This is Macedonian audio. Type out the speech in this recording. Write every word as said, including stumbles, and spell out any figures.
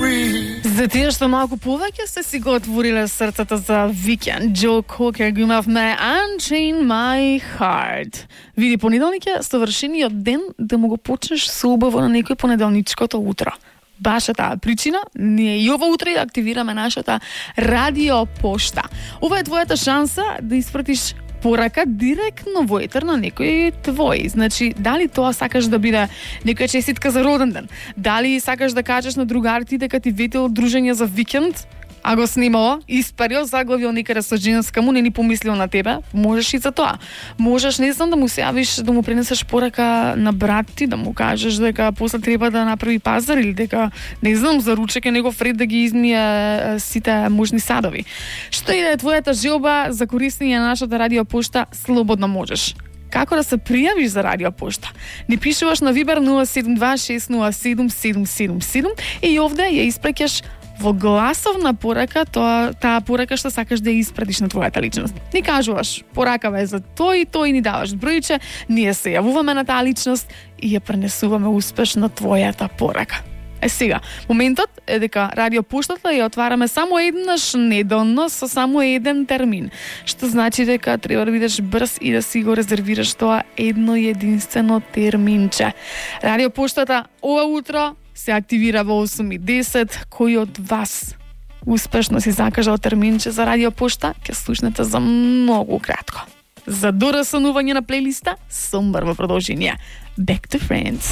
За тие што малку повеќе се си го отвориле срцата за викенд, Джо Кокер го имавме Unchain My Heart. Види, понеделник е совршениот ден да му го почнеш со убаво на некој понеделничкото утро. Баш е таа причина, ние и ова утре да активираме нашата радиопошта. Ова е твојата шанса да испратиш порака директно во етер на некој твој. Значи, дали тоа сакаш да биде некоја честитка за роден ден? Дали сакаш да кажеш на другарите дека ти ветел дружење за викенд, а го снимало, испарил, заглавил некаде со женска му, не ни помислил на тебе, можеш и за тоа. Можеш, не знам, да му се јавиш, да му пренесеш порака на брат ти, да му кажеш дека после треба да направи пазар или дека, не знам, за ручек е негов ред да ги измие сите можни садови. Што и да е твојата желба за користење на нашата радиопошта, слободно можеш. Како да се пријавиш за радиопошта? Ни пишуваш на Вибер нула седум два шест нула седум седум седум седум и овде ја испраќаш во гласовна порака тоа, таа порака што сакаш да ја испратиш на твојата личност. Ни кажуваш, поракава е за тој и тој, ни даваш бројче, ние се јавуваме на таа личност и ја пренесуваме успешно твојата порака. Е сега, моментот е дека радиопоштата ја отвараме само еднаш неделно со само еден термин, што значи дека треба да бидеш брз и да си го резервираш тоа едно единствено терминче. Радиопоштата ова утро се активира во осум и десет. Кој од вас успешно си закажал терминче за радиопошта, ќе слушнете за многу кратко. За дораснување на плейлиста, Сомбар во продолжение. Back to Friends.